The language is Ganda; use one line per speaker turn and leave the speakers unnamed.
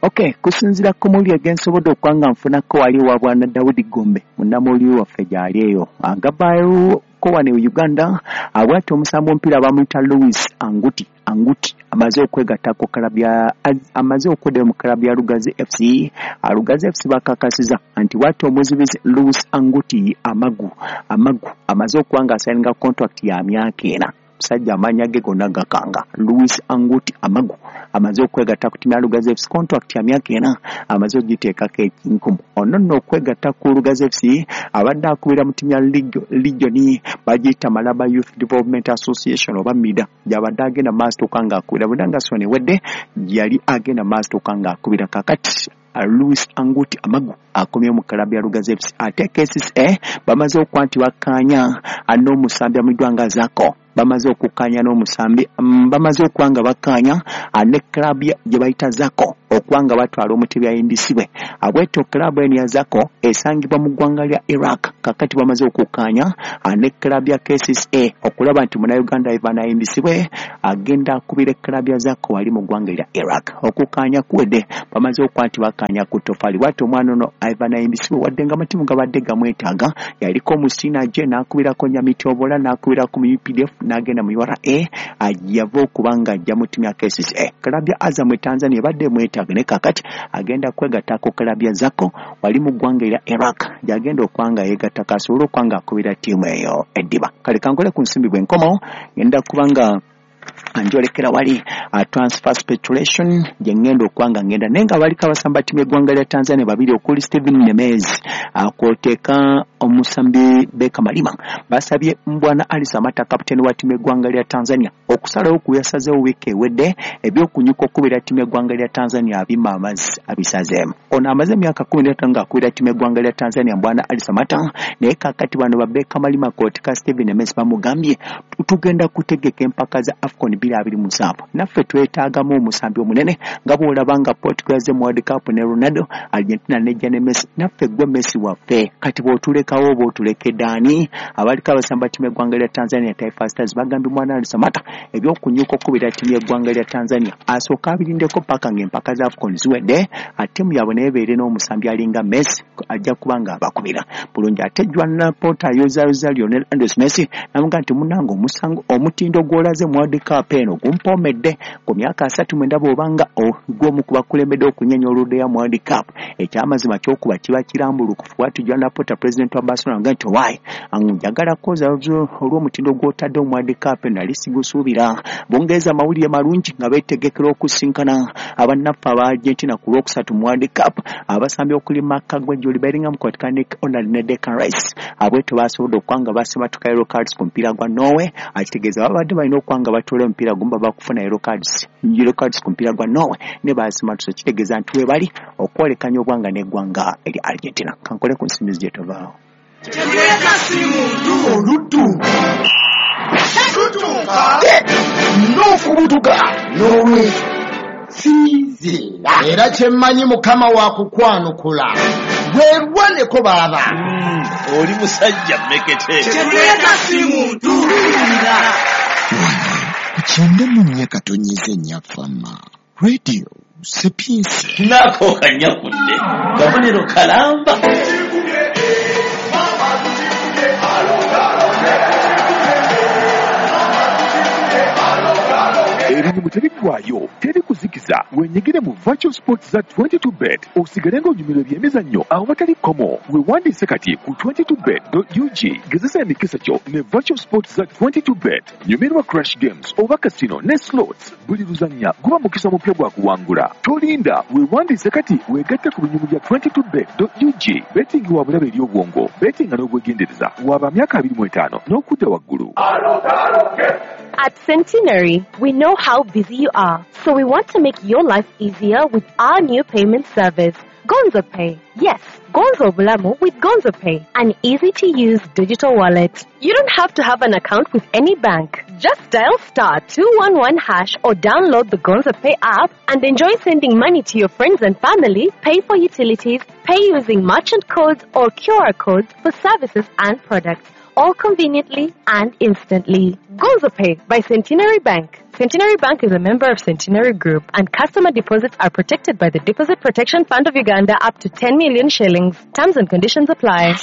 Okay, kusinziira ku mawulire ge nsobodde okuba nga nfunako wali ewa Bwana Daudi Gombe, munnamawulire waffe gy'ali eyo agavaayo ko wano e Uganda. Bw'atyo omusambi w'omupiira bamuyita Louis Anguti amaze okwegatta ku club ya, amaze okuddayo mu club ya Lugazi FC. Lugazi FC bakakasiza nti bw'atyo omuzibizi Louis Anguti Amagu amaze okuba nga asayininga contract ya myaka 4. Musajja amannya ge gonna gakanga. Louis Anguti Amagu amaze okwegatta ku ttiimu ya Lugazi FC, contract ya myaka 4 amaze ogiteekako ekinkumu. Ono nno okwegatta ku Lugazi FC abadde akubira mu ttiimu ya Legion, bagiyita Malaba Youth Development Association oba MIDA, gy'abadde agenda maaso toka ng'akubira. Bw'era nga Sony ewedde yali agenda maaso toka ng'akubira. Kaakati Louis Anguti Amagu akomye mu club ya Lugazi FC. Ate KCCA bamaze okuba nti bakkaanya n'omusambi amanyiddwa nga Zako. Bamaze okukkaanya n'omusambi, bamaze okuba nga bakkaanya ne club gye bayita Zako okuba nga batwala omutebi ayimbisibwe. Bwetyo club eno ya Zako esangibwa mu ggwanga lya Iraq. Kakati bamaze okukkaanya ne club ya KCCA okulaba nti Munnayuganda Ivan ayimbisibwe agenda akubira club ya Zako wali mu ggwanga lya Iraq. Okukkaanya kuwedde, bamaze okuba nti bakkaanya ku ttofaali. Bw'atyo omwana ono Ivan ayimbisibwe, wadde nga amatimu gabadde gamwetaaga, yaliko mu Sinaje n'akubirako Nyamitobola, n'akubirako mu UPDF, n'agenda mu URA, yava okuba nga ajja mu ttiimu ya KCCA. Club ya Azam e Tanzania ebadde emwetaaga, naye kaakati agenda kwegatta ku club ya Zako wali mu ggwanga erya Iraq, gy'agenda okuba nga yeegattako asobole okuba nga akubira ttiimu eyo eddiba. Kale kankole ku nsimbi, bwe nkomawo ngenda kuba nga njolekera wali transfer speculation gye ngenda okuba nga ngenda, naye nga baliko abasamba ttiimu y'eggwanga lya Tanzania babiri okuli Steven Nemez kw'oteeka omusambi Beka Malima. Basabye Mbwana Ali Samata, kapiteeni wa ttiimu y'eggwanga lya Tanzania, okusalawo ku yasazeewo wiiki ewedde ebyokunyuka okubira ttiimu y'eggwanga lya Tanzania abima amazzi abisazeemu. Ono amaze emyaka 15 ng'akubira ttiimu y'eggwanga lya Tanzania, Mbwana Ali Samata, naye kaakati bano ba Beka Malima kw'oteeka Steven Nemez bamugambye tugenda kutegeka empaka za AFCON 2027, naffe twetaagamu omusambi omunene nga bw'olaba nga Portugal yazze mu World Cup ne Ronaldo, Argentina nejja ne Messi, naffe gwe Messi waffe, kati bw'otulekawo oba otulekedde ani? Abaliko abasamba ttiimu y'eggwanga lya Tanzania Taifa Stars bagambye Mwana Ali Samata ebyokunyuka okubira ttiimu y'eggwanga lya Tanzania asooka abirindeko paka ng'empaka za AFCON ziwedde, ttiimu yaabwe naye ebeere n'omusambi alinga Messi ajja kuba nga abakubira bulungi. Ate Joan Laporta ayozaayoza Lionel Andres Messi n'amugamba nti munnange omutindo gw'olaze mu World Cup eno gumpoomedde ku myaka 39 bw'obanga gw'omu ku bakulembedde okunyenya oluddeya mu World Cup, ekyamazima ky'okuba kiba kirambulukufu. Bw'atyo Joan Laporta president wa Barcelona nga nti owaaye njagala kwoza olw'omutindo gw'otadde mu World Cup eno nali sigusuubira. Bungereza amawulire malungi nga beetegekera okusinkana abannaffe aba Argentina ku Lwokusatu mu World Cup. Abasambi okuli Marc Guehi, Bellingham kw'oteeka Nick Onald ne Declan Rice abwetyo basobodde okuba nga basimatuka yellow cards ku mupiira gwa Norway. Akitegeeza babadde balina okuba nga batoola omupiira gumu baba kufuna yellow cards ku mupiira gwa Norway ne basimatuse, kitegeeza nti we bali okwolekanya obwanga n'eggwanga erya Argentina. Kankole ku nsimbi gye tovaawo.
Oluddu lutuuka n'okubutuka n'olwekyo sinziira, era kyemmanyi Mukama wakukwanukula bwerwaneko baaba.
Oli musajja mmekete.
Kyetuleka si muntu.
Wano ku 94.4 Fama Radio Sapientia.
Nako kanyakudde kabonero kalamba.
Ebinyumu tebiggwaayo, teri kuzikiza. Wenyigire mu virtual sports za 22bet osigale ng'onyumirwa ebyemizannyo awatali kkomo. Weewandiise kati ku 22bet.ug. Gezesa emikisa gyo ne virtual sports za 22bet. Nyumirwa crash games oba casino ne slots. Buli luzannya guba mukisa mupya gwa kuwangula. Tolinda, weewandiise kati weegatte ku binyumu bya 22bet.ug. Betting wa bulabe eri obwongo, bettinga n'obwegendereza. Waba myaka 25 n'okudda waggulu.
At Centenary, we know how busy you are, so we want to make your life easier with our new payment service, Gonzo Pay. Yes, Gonzo Bulamu with Gonzo Pay, an easy-to-use digital wallet. You don't have to have an account with any bank. Just dial *211# or download the Gonzo Pay app and enjoy sending money to your friends and family, pay for utilities, pay using merchant codes or QR codes for services and products, all conveniently and instantly. Gonzo Pay by Centenary Bank. Centenary Bank is a member of Centenary Group, and customer deposits are protected by the Deposit Protection Fund of Uganda up to 10 million shillings. Terms and conditions apply.